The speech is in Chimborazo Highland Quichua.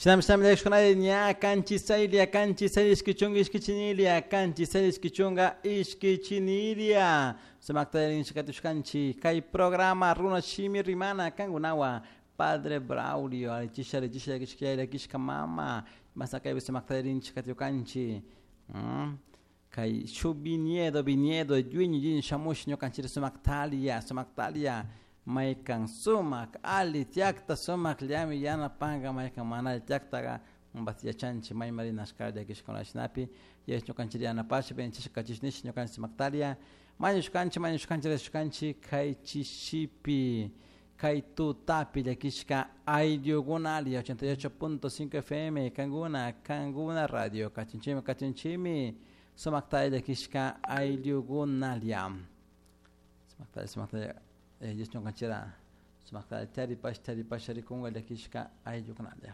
Shinami shinami llakishkunalla ña kanchisaylla kanchisaylla ishki chunga ishkichinilla kanchisaylla ishki chunga ishkichinilla sumakta rinchikatushkanchik kay programa runa shimi rimana kankunawan Padre Braulio alichisha alichisha llakishka llakishka mama masakaypi sumakta rinchikatukanchik kay shuk viñedo viñedo dueño dueño shamush ñukanchik sumaktalia sumaktalia maykan sumak ali tiyakta sumakllami yanapanka maykan mana alli tiyaktaka yachanchik mayman rinashka llakishkuna shinapi yash ñukanchik yanapash benchishka kachish nish ñukanchik sumaktalia mañushkanchik mañushkanchik rishkanchik kay chishipi kay tutapi llakishka ayllukunalla 88.5 FM kankuna kankuna radio kachinchimi kachinchimi sumakta llakishka ayllukunalla sumakta sumakta ñukanchira sumakta charipash charipash rikunka llakishka ayllukunalla.